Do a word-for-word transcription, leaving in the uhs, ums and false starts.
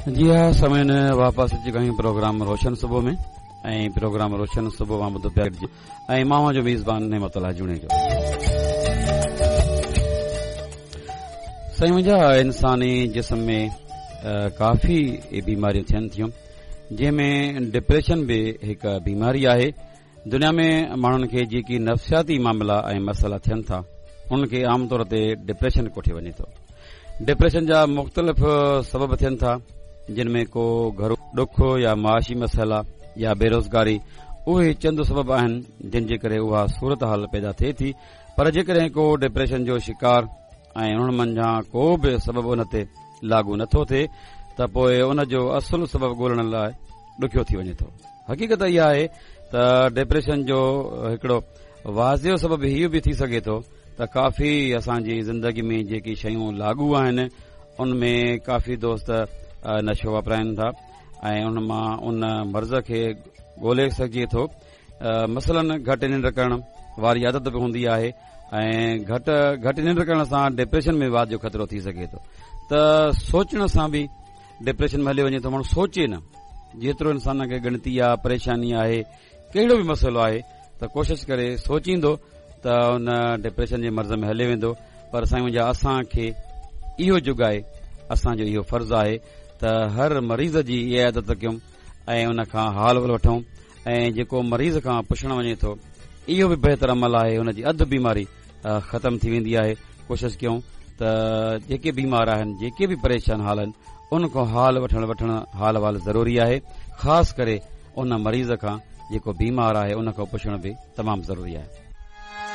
जी हा सामीन, वापसि अची विया आहियूं प्रोग्राम रोशन सुबुह में ऐं प्रोग्राम रोशन सुबुह मां ॿुधो पिया ऐं मां जो मेज़बान नेमतुल्ला जुणेजो। साईं मुंहिंजा, इंसानी जिस्म में काफ़ी बीमारियूं थियनि थियूं, जंहिंमें डिप्रेशन बि हिकु बीमारी आहे। दुनिया में माण्हुनि खे जेकी नफ़्सियाती मामला ऐं मसइला थियनि था उन्हनि खे आम तौर ते डिप्रेशन कोठियो वञे थो। डिप्रेशन जा मुख़्तलिफ़ सबब थियनि था, जिन में को घरो ॾुख या माशी मसइला या बेरोज़गारी, उहे चंद सबब आहिनि जिन जे करे उहा सूरत हाल पैदा थिए थी। पर जेकॾहिं को डिप्रेशन जो शिकार ऐं उन्हनि मंझां को बि सबब उन ते लागू नथो थिए त पोइ उन जो असुलु सबब ॻोल्हण लाइ ॾुखियो थी वञे थो। हक़ीक़त इहा आहे त डिप्रेशन जो हिकिड़ो वाज़ियो सबब इहो बि थी सघे थो त काफ़ी असांजी ज़िंदगी में जेकी शयूं लागू आहिनि उन में काफ़ी दोस्त नशो वापराइनि था ऐं उन मां उन मर्ज़ खे ॻोल्हे सघिजे थो। मसलन घटि निंड करण वारी आदत बि हूंदी आहे ऐं घटि घटि निंड करण सां डिप्रेशन में वाध जो ख़तरो थी सघे थो। त सोचण सां बि डिप्रेशन में हलियो वञे थो। माण्हू सोचे न, जेतिरो इंसान खे ॻणती आहे, परेशानी आहे, कहिड़ो बि मसइलो आहे त कोशिशि करे सोचींदो त उन डिप्रेशन जे मर्ज़ में हलियो वेंदो। पर साईं मुंहिंजा, असांखे इहो जुगाए, असांजो इहो फ़र्ज़ु आहे त हर मरीज़ जी इहा आदत कयूं ऐं उन खां हाल वठूं ऐं जेको मरीज़ खां पुछणु वञे थो इहो बि बहितर अमल आहे, उन जी अधु बीमारी ख़तमु थी वेंदी आहे। कोशिशि कयूं त जेके बीमार आहिनि, जेके बि परेशान हाल आहिनि, उन खां हाल वठणु वठणु हाल वाल ज़रूरी आहे। ख़ासि करे उन मरीज़ खां जेको बीमार आहे उन खां पुछणु बि तमामु ज़रूरी आहे।